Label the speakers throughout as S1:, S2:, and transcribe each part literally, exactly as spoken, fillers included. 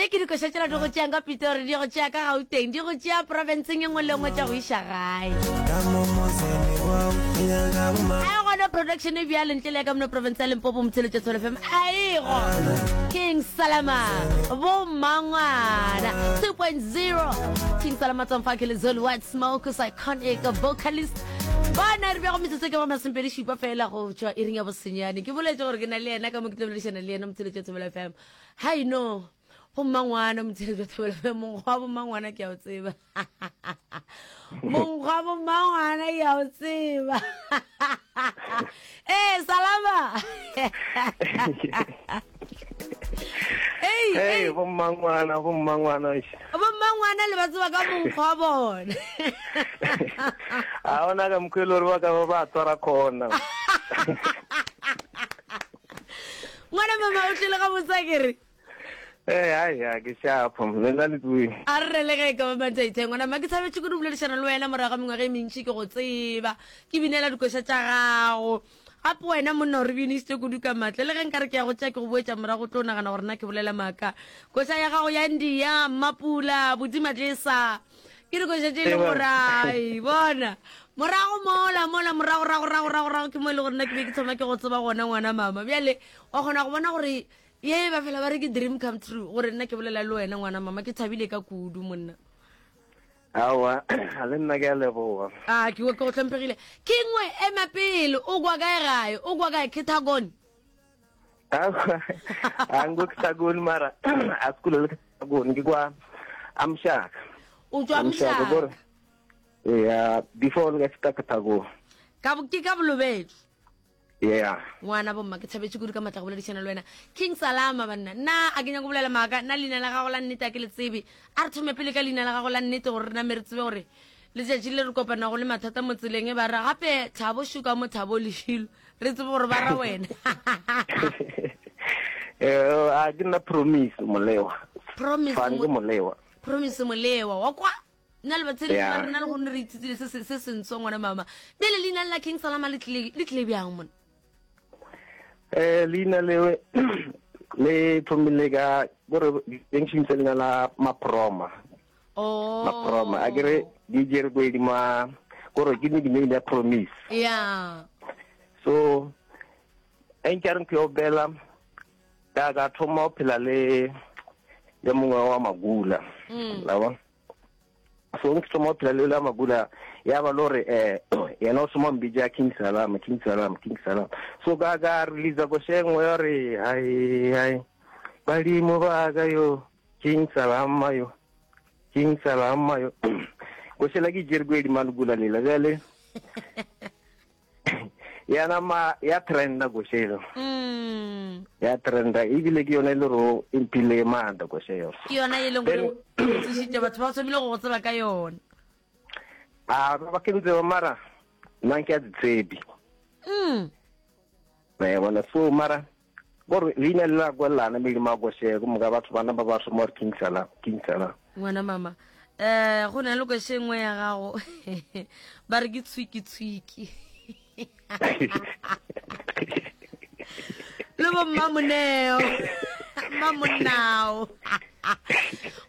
S1: Tše ke dikoša tšela di go tšeang ka Pitori, di go tšea ka Gauteng, di go tšea profenseng e nngwe le nngwe tša go iša gae. A e gona production e bjalo ntle le ya ka mona province ya Limpopo Motheletša Thobela F M. A e gona. King Salama, bo mmangwana two point zero. King Salama Tsomfake le Zoli White Smoke, iconic vocalist. Bona re bego metsotso ke ba masomepedi šupa fela go tšwa iring ya bosenyane. Ke boletše gore ke na le yena ka mo ke tlo boledišana le yena Motheletša Thobela F M. Hai no, go mmangwana Motheletša Thobela F M, mongwe wa bommangwana ke a o tseba. Mongwe wa bommangwana ke a o tseba. Ee, Salama. Hey,
S2: hey, bommangwana, bommangwana.
S1: Bommangwana le ba tseba ka monkgo wa bona.
S2: A ona ka mokgwa e le gore ba ka ba ba tswara khona.
S1: Ngwana mama o tlile ga botsa ke re.
S2: Eh, ai, ya ke shapo, le nna le tsoe.
S1: A re le ge ka ba mathaithai ngwana mma ke thabetše kudu boledišana le wena morago ga mengwaga e mentši ke go tseba. Ke binela dikoša tša gago. Gape wena monna o re binišitše kudu ka matla. Le ge nka re ke ya go tšea ke go boetša morago o tlo nagana gore na ke bolela maaka. Koša ya gago ya India, Mmapula, Bodimatlesa. Ke dikoša tše e leng gore ai bona. Morago mola mola morago rago rago rago rago ke mo e le gore nna ke be ke thoma ke go tseba gona ngwana mama. Bjale wa kgona go bona gore ye ba fela ba re ke dream come true gore nna ke bolela le wena ngwana mama, ke thabile ka kudu monna.
S2: Aowa, le nna ke a leboga.
S1: A ke ke go hlomphegile. Ke nngwe ema pele, o kwa kae gae? O kwa kae Ketagone?
S2: Aowa, a nko Ketagone mara a sekolo le Ketagone ke kwa Amshaka.
S1: O tšwa Amshaka.
S2: Yeah, before le ka feta Ketagone.
S1: Ka ke ka Bolobedu.
S2: Yeah.
S1: Ngwana bomma ke thabetše kudu ka matla go boledišana le wena. King Salama banna. Nna a ke nyako bolela maaka, nna leina la gago la nnete a ke le tsebe. A re thome pele ka leina la gago la nnete gore re name re tsebe gore letšatši le re kopanago le mathata mo tseleng e ba re gape Thabo Shuka mo Thabo Lešilo. Re tsebe gore ba ra wena.
S2: Eh, a ke nna Promise Molewa.
S1: Promise
S2: Fane ke Molewa.
S1: Promise Molewa wa kwa nna le batsheletši ba rena le gonne re ithutile se se sentsho ngwana mama. Bjale leina la King Salama le tlile le tlile bjang mona?
S2: Eh leina lewe le thomile ka gore junction se leina la Maproma.
S1: Oh.
S2: Maproma a kere di jere go edima gore ke nickname ya Promise.
S1: Yeah.
S2: So enke re ke obela ka ka thoma go phela le le mongwe wa Magula.
S1: Mm.
S2: La bona? So ke thoma go phela le la Magula ya ba lore eh yena o thoma mbija King Salama, King Salama, King Salama. So ka ka release go shengwe ya re hai hai badimo ba ka yo King Salama yo King Salama yo. Go shela ke jere go edima Magula lela bjale. Ya nama ya trenda go shela.
S1: Mm.
S2: Ya trenda ebile ke yona e le ro impile maatla go shela.
S1: Ke yona e leng gore tlišitše batho ba thomile go go tseba ka yona.
S2: A ba ke ntse mara nna ke a di tsebe.
S1: Mm.
S2: Ba bona so mara gore leina le la kwelana me ma go shela go moka batho bana ba ba thoma gore King Salama, King Salama.
S1: Ngwana mama eh go na le ko shengwe ya gago ba re ke tshwiki tshwiki. Le bo mmamoneo mmamonao.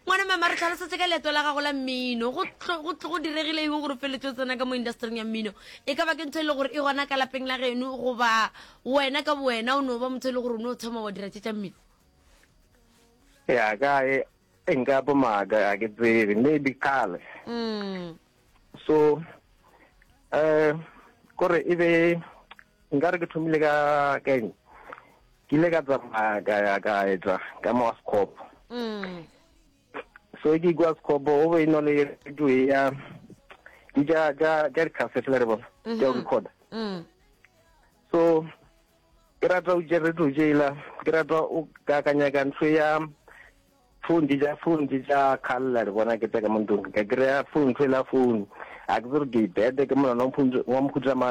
S1: Ngwana mama re tlhalosetse ka leeto la gago la mmino go go diregile eng gore o feletse o tsena ka mo industryng ya mmino? E ka ba ke ntho e le gore e gona ka lapeng la geno goba wena ka bowena o no ba motho e le gore o ne o thoma wa dira tše tša mmino?
S2: Ya ka e nka bo maaka a ke tsebe maybe kgale.
S1: Mm.
S2: So eh kore e be nka re ke thomile ka keng ke ile ka tsamaya ka ya ka etsa ka mo Sekgopo.
S1: Mm.
S2: So ke kwa Sekgopo o be no le radio ya di ja ja ja di cassette le re bona ja record.
S1: Mm.
S2: So ke rata o je radio jela ke rata o ka kanya ka ntho ya phone di ja phone di ja khalla re bona ke tseka mo ntlong ka kry-a phone ntho e la phone a ke tsere ke ibete ke monana wa mkhutsa